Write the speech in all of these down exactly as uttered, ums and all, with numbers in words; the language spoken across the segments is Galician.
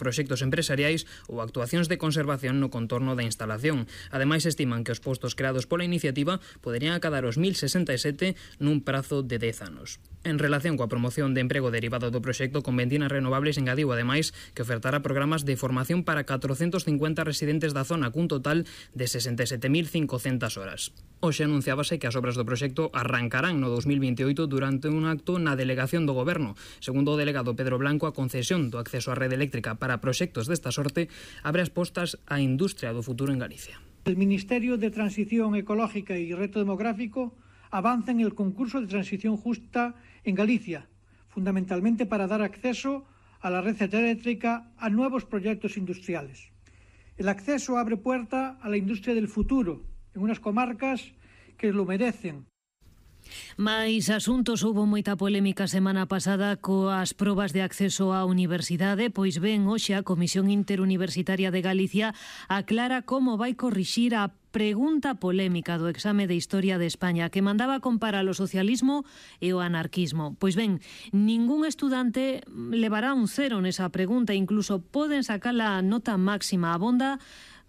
proxectos empresariais ou actuacións de conservación no contorno da instalación. Ademais, estiman que os postos creados pola iniciativa poderían acadar os mil sesenta e sete nun prazo de dez anos. En relación coa promoción de emprego derivado do proxecto Conventina Renovables, engadiu ademais que ofertará programas de formación para catrocentos cincuenta residentes da zona cun total de sesenta e sete mil cincocentas horas. Hoxe anunciábase que as obras do proxecto arrancarán no dos mil vinte e oito durante un acto na delegación do Goberno. Segundo o delegado Pedro Blanco, a concesión do acceso á rede eléctrica para proxectos desta sorte abre as postas á industria do futuro en Galicia. El Ministerio de Transición Ecológica y Reto Demográfico avanza en el concurso de transición justa en Galicia, fundamentalmente para dar acceso a la red eléctrica a nuevos proyectos industriales. El acceso abre puerta a la industria del futuro en unas comarcas que lo merecen. Mais asuntos, houbo moita polémica semana pasada coas probas de acceso á universidade, pois ben, hoxe a Comisión Interuniversitaria de Galicia aclara como vai corrixir a pregunta polémica do exame de Historia de España que mandaba comparar o socialismo e o anarquismo. Pois ben, ningún estudante levará un cero nesa pregunta, incluso poden sacar a nota máxima. Abonda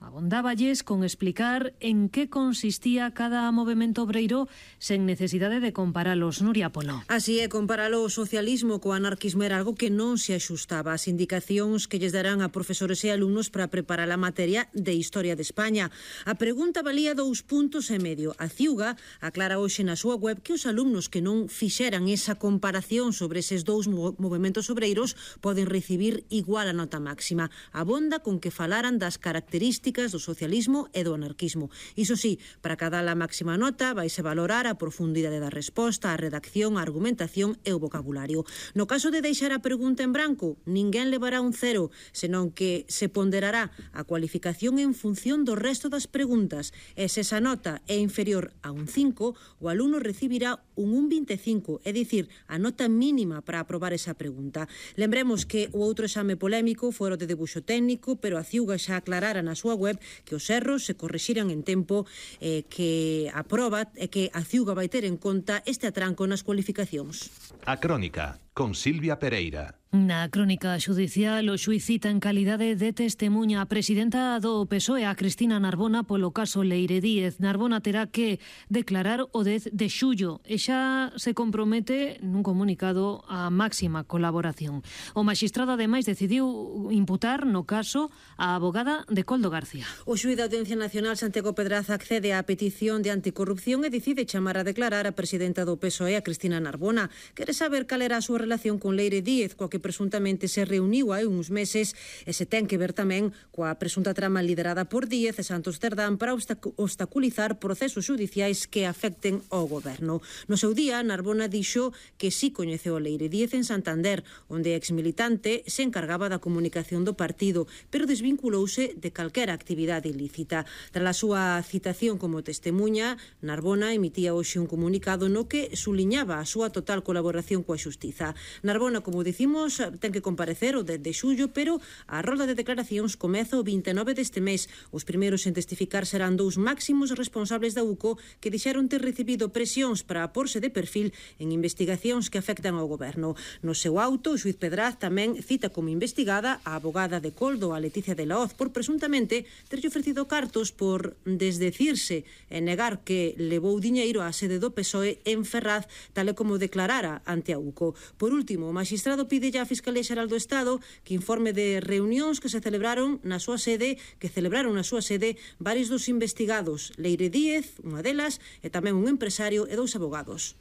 Abondáballes con explicar en que consistía cada movemento obreiro sen necesidade de comparalos. Nuria Polo. Así é, comparalo o socialismo co anarquismo era algo que non se axustaba ás indicacións que lles darán a profesores e alumnos para preparar a materia de Historia de España. A pregunta valía dous puntos e medio. A Ciuga aclara hoxe na súa web que os alumnos que non fixeran esa comparación sobre eses dous movementos obreiros poden recibir igual a nota máxima. Abonda con que falaran das características do socialismo e do anarquismo. Iso sí, para cada a máxima nota vaise valorar a profundidade da resposta, a redacción, a argumentación e o vocabulario. No caso de deixar a pregunta en branco, ninguén levará un cero, senón que se ponderará a cualificación en función do resto das preguntas. E se esa nota é inferior a un cinco, o alumno recibirá un un vinte e cinco, é dicir, a nota mínima para aprobar esa pregunta. Lembremos que o outro exame polémico fora o de debuxo técnico, pero a Ciuga xa aclarara na súa web que os erros se corrixiran en tempo, eh, que a proba e que a Ciuga vai ter en conta este atranco nas cualificacións. A Crónica, con Silvia Pereira. Na crónica xudicial, o xuíz cita en calidade de testemunha a presidenta do P S O E, a Cristina Narbona, polo caso Leire Díez. Narbona terá que declarar o dez de xullo e xa se compromete nun comunicado a máxima colaboración. O magistrado, ademais, decidiu imputar no caso a abogada de Coldo García. O xuíz da Audiencia Nacional, Santiago Pedraza, accede á petición de anticorrupción e decide chamar a declarar a presidenta do P S O E, a Cristina Narbona. Quere saber cal era a súa relación con Leire Díez, coa que presuntamente se reuniu hai uns meses, e se ten que ver tamén coa presunta trama liderada por Díez e Santos Cerdán para obstaculizar procesos judiciais que afecten ao goberno. No seu día, Narbona dixo que sí coñeceu a Leire Díez en Santander, onde exmilitante se encargaba da comunicación do partido, pero desvinculouse de calquera actividade ilícita. Tras a súa citación como testemunha, Narbona emitía hoxe un comunicado no que suliñaba a súa total colaboración coa xustiza. Narbona, como dicimos, ten que comparecer o dez de xullo, pero a rolda de declaracións comeza o vinte e nove deste mes. Os primeiros en testificar serán dous máximos responsables da U C O que dixeron ter recibido presións para aporse de perfil en investigacións que afectan ao goberno. No seu auto, o xuíz Pedraz tamén cita como investigada a abogada de Coldo, a Leticia de la Hoz, por presuntamente terlle ofrecido cartos por desdecirse e negar que levou diñeiro á sede do P S O E en Ferraz, tal e como declarara ante a U C O. Por último, o magistrado pide a Fiscalía Xeral do Estado que informe de reunións que se celebraron na súa sede, que celebraron na súa sede varios dos investigados, Leire Díez, unha delas, e tamén un empresario e dous abogados.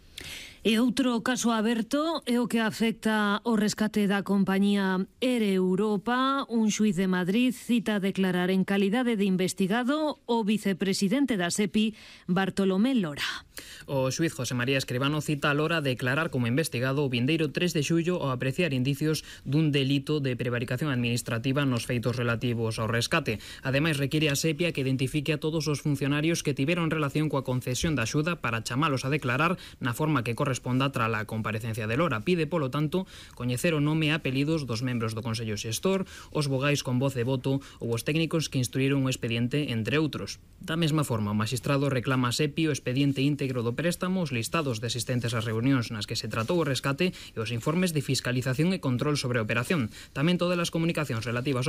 E outro caso aberto é o que afecta o rescate da compañía Ere Europa. Un xuíz de Madrid cita a declarar en calidade de investigado o vicepresidente da SEPI, Bartolomé Lora. O xuíz José María Escribano cita a Lora declarar como investigado o vindeiro tres de xullo ao apreciar indicios dun delito de prevaricación administrativa nos feitos relativos ao rescate. Ademais, require a SEPI que identifique a todos os funcionarios que tiveron relación coa concesión da axuda para chamalos a declarar na forma forma que corresponda tras a comparecencia de Lora. Pide, polo tanto, coñecer o nome e apelidos dos membros do Consello Xestor, os vogais con voz e voto ou os técnicos que instruíron o expediente, entre outros. Da mesma forma, o magistrado reclama a SEPI o expediente íntegro do préstamo, os listados de asistentes ás reunións nas que se tratou o rescate e os informes de fiscalización e control sobre a operación. Tamén todas as comunicacións relativas